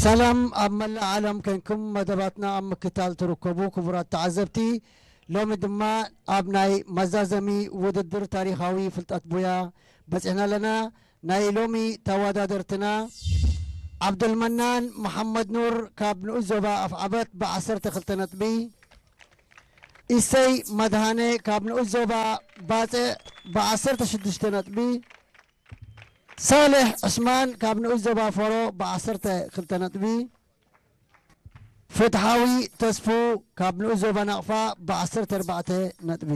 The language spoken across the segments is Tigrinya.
ሰላም ኣብ መላእ ዓለም ኮንኩም መደባትና ኣብ ምክታል ትርከቡ ክቡራት ተዓዘብቲ፣ ሎሚ ድማ ኣብ ናይ መዛዘሚ ውድድር ታሪኻዊ ፍልጠት ቡያ በጺሕና ኣለና። ናይ ሎሚ ተወዳደርትና፣ ዓብደልመናን መሓመድ ኑር ካብ ንኡስ ዞባ ኣፍዓበት ብዓሰርተ ክልተ ነጥቢ፣ ኢሰይ መድሃነ ካብ ንኡስ ዞባ ባጽዕ ብዓሰርተ ሽዱሽተ ነጥቢ፣ ሳልሕ ዑስማን ካብ ንኡስ ዞባ ፈሮ ብዓሰርተ ክልተ ነጥቢ፣ ፍትሓዊ ተስፉ ካብ ንኡስ ዞባ ናቕፋ ብዓሰርተ ኣርባዕተ ነጥቢ።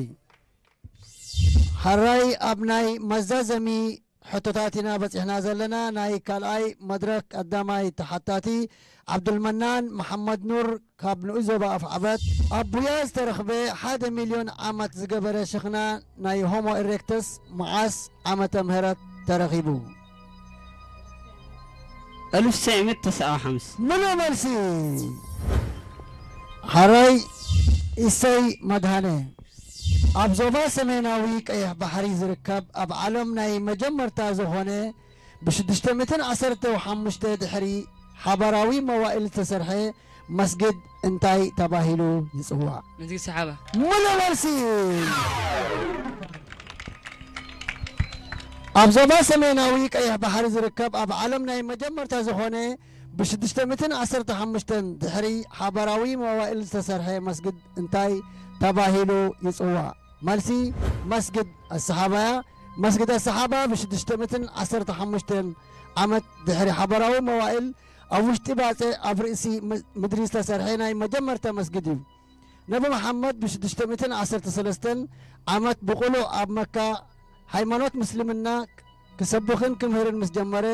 ሓራይ ኣብ ናይ መዛዘሚ ሕቶታት ኢና በጺሕና ዘለና። ናይ ካልኣይ መድረኽ ቀዳማይ ተሓታቲ ዓብዱልመናን መሓመድ ኑር ካብ ንኡስ ዞባ ኣፍዓበት። ኣብ ቡያ ዝተረኽበ ሓደ ሚልዮን ዓመት ዝገበረ ሽኽና ናይ ሆሞ ኢሬክተስ መዓስ ዓመተ ምህረት ተረኺቡ? ألف وتسعمية وتسعة وخمسين. ምሉእ መልሲ። ሓራይ ኢሰይ መድሃነ። ኣብ ዞባ ሰሜናዊ ቀይሕ ባሕሪ ዝርከብ ኣብ ዓለም ናይ መጀመርታ ዝኾነ ብሽዱሽተ ሚእትን ዓሰርተ ሓሙሽተ ድሕሪ ሓባራዊ መዋእል ዝተሰርሐ መስጊድ እንታይ ተባሂሉ ይጽዋዕ? መስጊድ ሰሓባ። ምሉእ መልሲ። ኣብ ዞባ ሰሜናዊ ቀይሕ ባሕሪ ዝርከብ ኣብ ዓለም ናይ መጀመርታ ዝኾነ ብሽዱሽተ ሚእትን ዓሰርተ ሓሙሽተን ድሕሪ ሓባራዊ መዋእል ዝተሰርሐ መስጊድ እንታይ ተባሂሉ ይጽዋዕ? መልሲ፣ መስጊድ ኣሰሓባ እያ። መስጊድ ኣሰሓባ ብሽዱሽተ ሚእትን ዓሰርተ ሓሙሽተን ዓመት ድሕሪ ሓባራዊ መዋእል ኣብ ውሽጢ ባጽዕ ኣብ ርእሲ ም- ምድሪ ዝተሰርሐ ናይ መጀመርታ መስጊድ እዩ። ነቢ መሓመድ ብሽዱሽተ ሚእትን ዓሰርተ ሰለስተን ዓመት ብቕሉዕ ኣብ መካ ሃይማኖት ምስልምና ክሰብኽን ክምህርን ምስ ጀመረ፣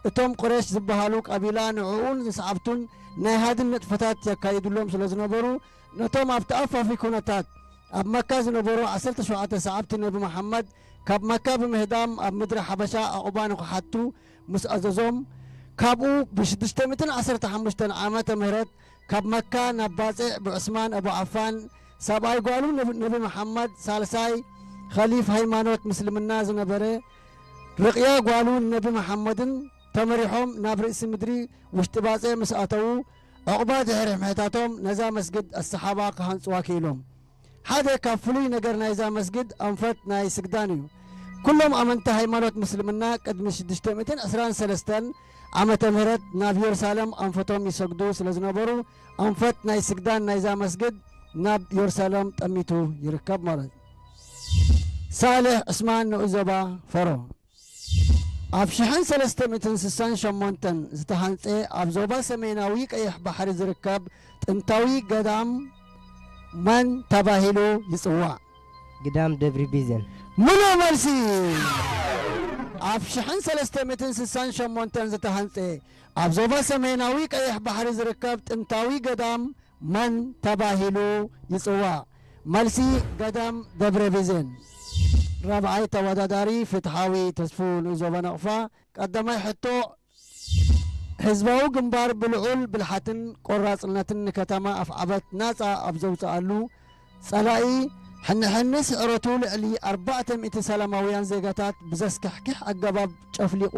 እቶም ቁሬሽ ዝበሃሉ ቀቢላ ንዕኡን ንሰዓብቱን ናይ ሃድን ንጥፈታት የካይዱሎም ስለ ዝነበሩ፣ ነቶም ኣብ ተኣፋፊ ኩነታት ኣብ መካ ዝነበሩ ዓሰርተ ሸውዓተ ሰዓብቲ ነቢ መሓመድ ካብ መካ ብምህዳም ኣብ ምድሪ ሓበሻ ዕቑባ ንኽሓቱ ምስ ኣዘዞም፣ ካብኡ ብሽዱሽተ ሚእትን ዓሰርተ ሓሙሽተን ዓመተ ምህረት ካብ መካ ናብ ባጽዕ ብዑስማን ኣቡ ዓፋን ሰብኣይ ጓሉ ነብ- ነቢ መሓመድ ሳልሳይ ኸሊፍ ሃይማኖት ምስልምና ዝነበረ ርቕያ ጓሉ ነቢ መሓመድን ተመሪሖም ናብ ርእሲ ምድሪ ውሽጢ ባጽዕ ምስ ኣተዉ ዕቑባ ድሕሪ ምሕታቶም ነዛ መስጊድ ኣሰሓባ ክሃንጽዋ ክኢሎም። ሓደ ካብ ፍሉይ ነገር ናይዛ መስጊድ ኣንፈት ናይ ስግዳን እዩ። ኩሎም ኣመንቲ ሃይማኖት ምስልምና ቅድሚ ሽዱሽተ ሚእትን ዕስራን ሰለስተን ዓመተ ምህረት ናብ ዮርሳለም ኣንፈቶም ይሰግዱ ስለ ዝነበሩ ኣንፈት ናይ ስግዳን ናይዛ መስጊድ ናብ ዮርሳለም ጠሚቱ ይርከብ ማለት እዩ። ሳልሕ ዑስማን ንኡስ ዞባ ፈሮ። ኣብ ሽሕን ሰለስተ ሚእትን ስሳን ሸሞንተን ዝተሃንጸ ኣብ ዞባ ሰሜናዊ ቀይሕ ባሕሪ ዝርከብ ጥንታዊ ገዳም መን ተባሂሉ ይጽዋዕ? ግዳም ደብሪ ቢዘን። ምሉእ መልሲ። ኣብ ሽሕን ሰለስተ ሚእትን ስሳን ሸሞንተን ዝተሃንጸ ኣብ ዞባ ሰሜናዊ ቀይሕ ባሕሪ ዝርከብ ጥንታዊ ገዳም መን ተባሂሉ ይጽዋዕ? መልሲ፣ ገዳም ደብረ ቢዘን። ራብዓይ ተወዳዳሪ ፍትሓዊ ተስፉ ንኡስ ዞባ ናቕፋ። ቀዳማይ ሕቶ፣ ህዝባዊ ግንባር ብልዑል ብልሓትን ቆራጽነትን ንከተማ ኣፍዓበት ናጻ ኣብ ዘውጽኣሉ፣ ጸላኢ ሕንሕኒ ስዕረቱ ልዕሊ ኣርባዕተ ሚእቲ ሰላማውያን ዜጋታት ብዘስካሕክሕ ኣገባብ ጨፍሊቑ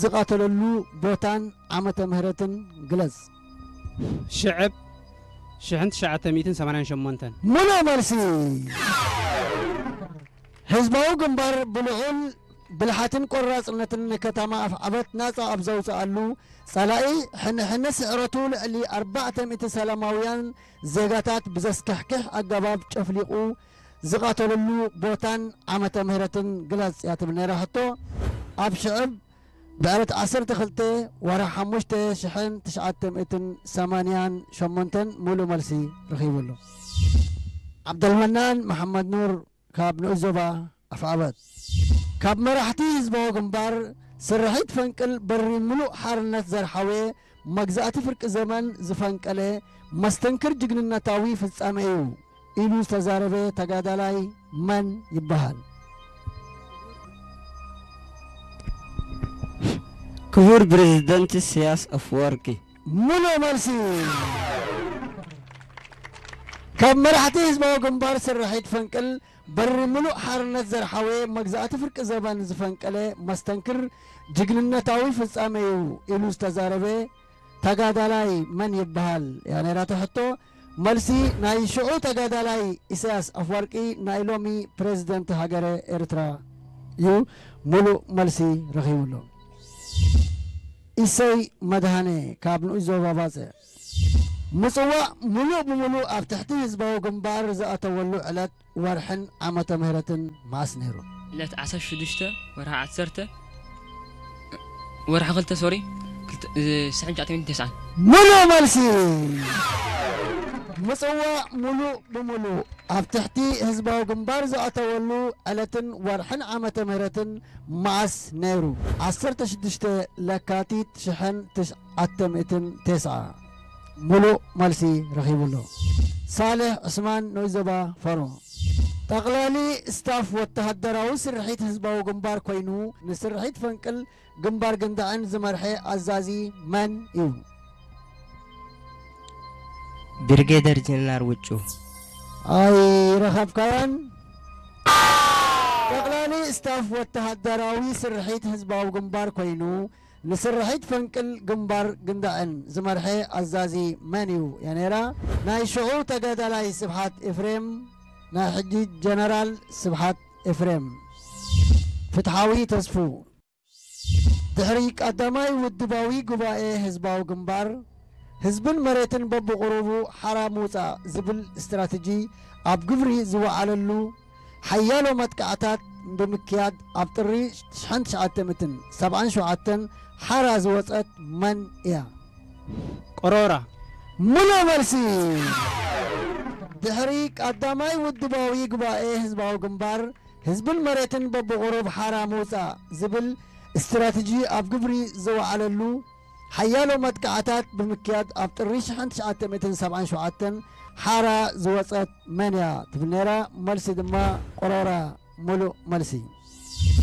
ዝቐተለሉ ቦታን ዓመተ ምህረትን ግለጽ። ሽዕብ ሽሕን ትሽዓተ ሚእትን ሰማንያን ሸሞንተን። ምሉእ መልሲ። ህዝባዊ ግንባር ብልዑል ብልሓትን ቆራጽነትን ንከተማ ኣፍዓበት ናጻ ኣብ ዘውጽኣሉ፣ ጸላኢ ሕንሕኒ ስዕረቱ ልዕሊ ኣርባዕተ ሚእቲ ሰላማውያን ዜጋታት ብዘስካሕክሕ ኣገባብ ጨፍሊቑ ዝቐተለሉ ቦታን ዓመተ ምህረትን ግለጽ እያ ትብል ነይራ ሕቶ። ኣብ ሽዕብ ብዕለት ዓሰርተ ክልተ ወርሒ ሓሙሽተ ሽሕን ትሽዓተ ሚእትን ሰማንያን ሸሞንተን ምሉእ መልሲ ረኺቡ ኣሎ። ዓብደልመናን መሓመድ ኑር ካብ ንኡስ ዞባ ኣፍዓበት። ካብ መራሕቲ ህዝባዊ ግንባር ስርሒት ፈንቅል በሪ ምሉእ ሓርነት ዘርሓወ መግዛእቲ ፍርቂ ዘመን ዝፈንቀለ መስተንክር ጅግንነታዊ ፍጻመ እዩ ኢሉ ዝተዛረበ ተጋዳላይ መን ይበሃል? ክቡር ፕሬዝደንት ኢሳያስ ኣፈወርቂ። ምሉእ መልሲ። ካብ መራሕቲ ህዝባዊ ግንባር ስርሒት ፈንቅል በሪ ምሉእ ሓርነት ዘርሓወ መግዛእቲ ፍርቂ ዘበን ዝፈንቀለ መስተንክር ጅግንነታዊ ፍጻመ እዩ ኢሉ ዝተዛረበ ተጋዳላይ መን ይበሃል እያ ነይራ እቲ ሕቶ። መልሲ ናይ ሽዑ ተጋዳላይ ኢሳያስ ኣፍወርቂ ናይ ሎሚ ፕሬዝደንት ሃገረ ኤርትራ እዩ። ሙሉእ መልሲ ረኺቡ ኣሎ። ኢሰይ መድሃኔ ካብ ንኡስ ዞባ ባጽዕ። ምጽዋዕ ሙሉእ ብምሉእ ኣብ ትሕቲ ህዝባዊ ግንባር ዝኣተወሉ ዕለት፣ ወርሕን ዓመተ ምህረትን መዓስ ነይሩ? ዕለት ዓሰርተ ሽዱሽተ ወርሒ ዓሰርተ፣ ወርሒ ክልተ፣ ሶሪ፣ ክልተ፣ እ፣ ሽሕን ትሽዓተ ሚእትን ተስዓን። ሙሉእ መልሲ። ምጽዋዕ ሙሉእ ብምሉእ ኣብ ትሕቲ ህዝባዊ ግንባር ዝኣተወሉ ዕለትን ወርሕን ዓመተ ምህረትን መዓስ ነይሩ? ዓሰርተ ሽዱሽተ ለካቲት ሽሕን ትሽዓተ ሚእትን ተስዓ። ሙሉእ መልሲ ረኺቡ ኣሎ። ሳልሕ ዑስማን፣ ንኡስ ዞባ ፈሮ። ጠቕላሊ ስታፍ ወተሃደራዊ ስርሒት ህዝባዊ ግንባር ኮይኑ፣ ንስርሒት ፈንቅል ግንባር ግንዳዕን ዝመርሐ ኣዛዚ መን እዩ? ብርጌደር ጀነራል ውጩ። ኣይረኸብካዮን። ጠቕላሊ ስታፍ ወተሃደራዊ ስርሒት ህዝባዊ ግንባር ኮይኑ፣ ንስርሒት ፈንቅል ግንባር ግንዳዕን ዝመርሐ ኣዛዚ መን እዩ? እያ ነይራ ናይ ሽዑ ተጋዳላይ ስብሓት ኤፍሬም፣ ናይ ሕጂ ጀነራል ስብሓት ኤፍሬም። ፍትሓዊ ተስፉ። ድሕሪ ቀዳማይ ውድባዊ ጉባኤ ህዝባዊ ግንባር፣ ህዝብን መሬትን በብቑሩቡ ሓራ ምውጻእ ዝብል ስትራተጂ ኣብ ግብሪ ዝወዓለሉ ሓያሎ መጥቃዕታት ብምክያድ፣ ኣብ ጥሪ ሽሕን ትሽዓተ ሚእትን ሰብዓን ሸውዓተን ሓራ ዝወጸት መን እያ? ቆሮራ። ሙሉእ መልሲ። ድሕሪ ቀዳማይ ውድባዊ ጉባኤ ህዝባዊ ግንባር፣ ህዝብን መሬትን በብቑሩብ ሓራ ምውጻእ ዝብል ስትራተጂ ኣብ ግብሪ ዝወዓለሉ ሓያሎ መጥቃዕታት ብምክያድ፣ ኣብ ጥሪ ሽሕን ትሽዓተ ሚእትን ሰብዓን ሸውዓተን ሓራ ዝወጸት መን እያ ትብል ነይራ? መልሲ ድማ ቆሮራ። ሙሉእ መልሲ።